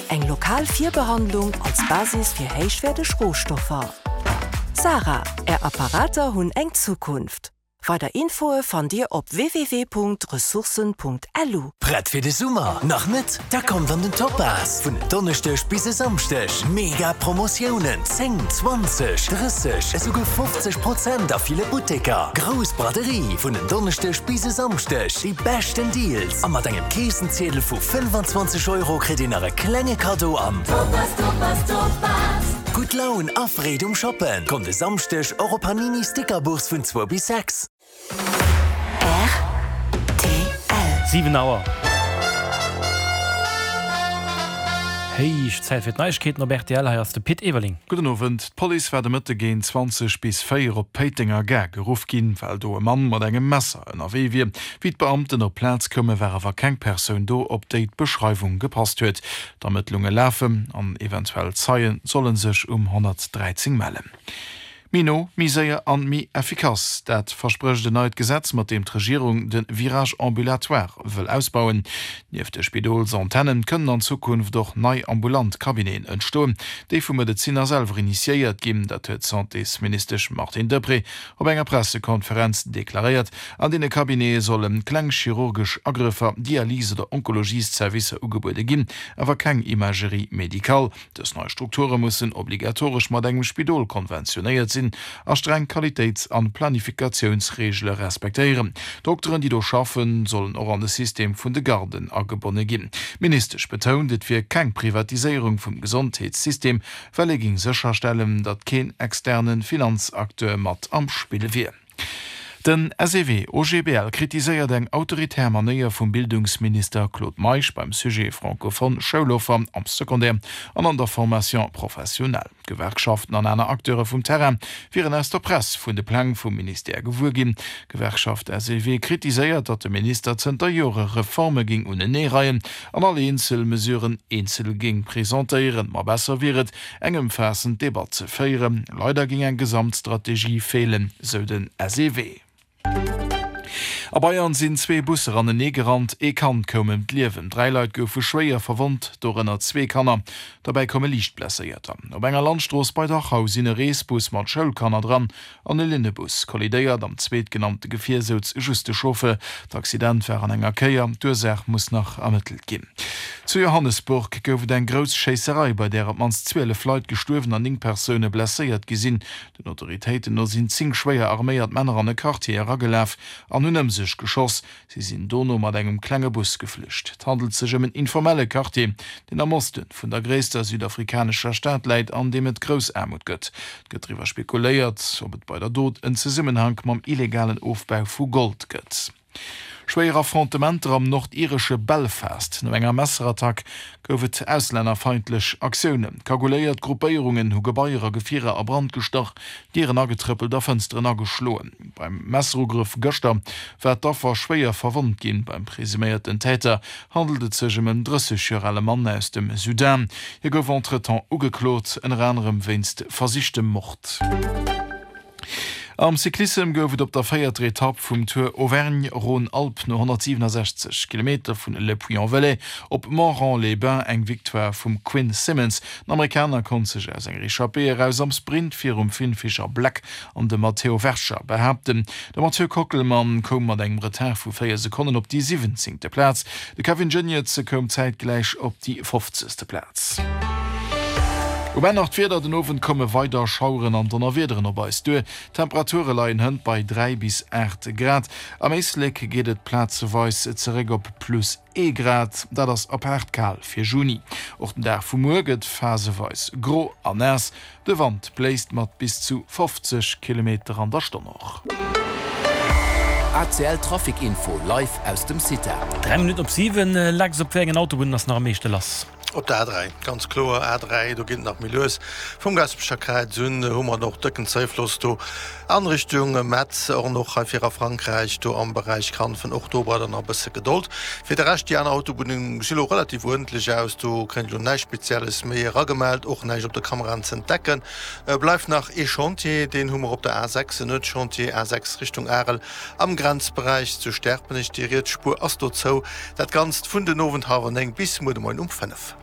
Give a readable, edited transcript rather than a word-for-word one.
Eng lokal Virbehandlung als Basis fir héichwäerteg Rohstoffer. Sara, Är Apparater hunn eng Zukunft. Weider Infoe fannt Dir op www.ressourcen.lu. Prett fir de Summer? Nach net? Da kommt an den Topaz! Vun en Donneschdeg bis e Samschdeg mega Promotiounen, 10, 20, 30, esouguer 50 Prozent a ville Butteker. Grouss Braderie vun en Donneschdeg bis e Samschdeg, déi beschten Deals a mat engem Keessenziedel vu 25 Euro kritt dir nach e klenge Kaddo an Topaz, Topaz, Topaz! Gutt Laun a Freed um Shoppen! Kommt e Samschdeg och op Panini Stickerbourse vun 2 bis 6. Rtl. 7 Auer. Héich Zäit fir d'Neiegkeeten op rtl. Hei ass de Pit Everling. Gudden Owend. D'Police war de Mëtte géint 20 bis 4 op d'Péitenger Gare geruff ginn, well do e Mann mat engem Messer ënnerwee wier. Wéi d'Beamten op d'Plaz koume war awer keng Persoun do, op déi d'Beschreiwung gepasst huet. D'Ermëttlunge lafen an eventuell Zeie solle sech um 113 mellen. Méi no, méi séier an méi effikass, dat versprécht en neit Gesetz, mat deem d'Regierung de Virage ambulatoire wëll ausbauen. Nieft de Spidolsantennen kënnen an Zukunft och nei ambulant Cabineten entstoen, déi vu Medezinner selwer initiéiert ginn. Dat huet d'Santésministesch Martine Deprez op enger Pressekonferenz deklaréiert. An deene Cabinete solle kleng chirurgesch Agrëffer, Dialyse oder Onkologiesservicer ugebuede ginn, awer keng Imagerie médicale. Dës nei Strukture mussen obligatoresch mat engem Spidol konventionéiert sinn a streng Qualitéits an Planifikatiounsreegele respektéieren. D'Dokteren, déi do schaffen, sollen och an de System vun de Garden agebonne ginn. D'Ministesch betount, et wier keng Privatiséierung vum Gesondheetssystem, well ee géing sécherstellen, datt keen externe Finanzacteur mat am Spill wier. Den SEW OGBL kritiséiert eng autoritär Manéier vum Bildungsminister Claude Meisch beim Sujet francophone Schouloffer am Secondaire an an der Formation professionnelle. D'Gewerkschaften an aner Acteure vum Terrain wieren aus der Press vun de Pläng vum Ministère gewuer ginn. D'Gewerkschaft SEW kritiséiert, datt de Minister zënter Jore Reforme géing uneneereien an all eenzel Mesuren eenzel géing presentéieren. Ma besser wier et, eng ëmfaassend Debatt ze féieren. Leider géing eng Gesamtstrategie feelen, sou den SEW. A Bayern sinn zwee Busser anenee gerannt, ee Kand koum ëm d'Liewen, 3 Leit goufe schwéier verwonnt, dorënner zwee Kanner. Derbäi koume liicht Blesséierter. Op enger Landstrooss bei Dachau sinn e Reesbus mat Schoulkanner dran An e Linnebus kollidéiert. Am zweetgenannte Gefier souz just de Chauffeur. D'Accident war an enger Kéier, d'Ursaach muss nach ermëttelt ginn. Zu Johannesburg gouf et eng grouss Schéisserei, bei där op d'mannst 12 Leit gestuerwen an 9 Persoune blesséiert gi sinn. Den Autoritéiten no sinn 10 schwéier arméiert Männer an e Quartier eragelaf an hunn ëm sech geschoss. Si sinn dono mat engem klenge Bus geflücht. Et handelt sech ëm en informelle Quartier, deen am Oste vun der gréisster südafrikanescher Stad läit an deem et grouss Aarmut gëtt. Et gëtt driwwer spekuléiert, ob et bei der Dot en Zesummenhank mam illegalen Ofbau vu Gold gëtt. Schwéier Affrontementer am nordiresche Belfast. No enger Messerattack gouf et auslännerfeindlech Aktiounen. Kagouléiert Gruppéierungen hu Gebaier a Gefierer a Brand gestach, Dieren agetrëppelt a Fënsteren ageschloen. Beim Messerugrëff gëschter war d'Affer schwéier verwonnt ginn. Beim presuméierten Täter handelt et sech ëm en 30 Joer ale Mann aus dem Sudan. Hie gouf entretemps ugeklot, ënner anerem wéinst versichtem Mord. Am Cyclissem gouf et op der véierter Etapp vum Tour Auvergne-Rhône-Alpes no 167 Kilometer vun Le Puy-en-Velay op Montrond-les-Bains eng Victoire vum Quinn Simmons. Den Amerikaner konnt sech aus enger Echappée eraus am Sprint virum Finn Fischer-Black an dem Matteo Vercher behaapten. De Mathieu Kockelmann koum mat engem Retard vu 4 Sekonnen op déi siwwenzéngte Plaz. De Kevin Geniets koum zäitgläich op déi fofzegste Plaz. Um Enn nach d'Wieder, Den Owend komme weider Schaueren an Donnerwiederen op eis duer. D'Temperature leien hënt bei 3 bis 8 Grad. Am Éislek geet et plazeweis zeréck op plus ee Grad, dat ass apaart kal fir Juni. Och den Dag vu muer gëtt phaseweis gro a naass. De Wand bléist mat bis zu 50 Kilometer an der Stonn och. ACL Trafic Info live aus dem CITA. 3 Minutten op 7, Lex, op wéi engen Autobunnen ass nach am meeschte lass? Op der A3, ganz kloer A3, do geet et nach méi lues. Vum Gaasperecher Kräiz un hu mer och dëcken Zéifloss do an Richtung Metz, och och hei fir a Frankräich do am Beräich Kanfen. Och do braucht der nach e bësse Gedold. Fir de Rescht, déi aner Autobunne gesi lo relativ uerdentlech aus, do kréint elo näischt Spezielles méi eragemellt, och näischt op de Kameraen ze entdecken. Bleift nach ee Chantier, deen hu mer op der A6, en Nuetschantier, A6 Richtung Arel am Grenzberäich zu Sterpenech. Déi riets Spuer ass do zou. Dat Ganzt vun den Owend hallwer 9 bis muer de Moien um 5.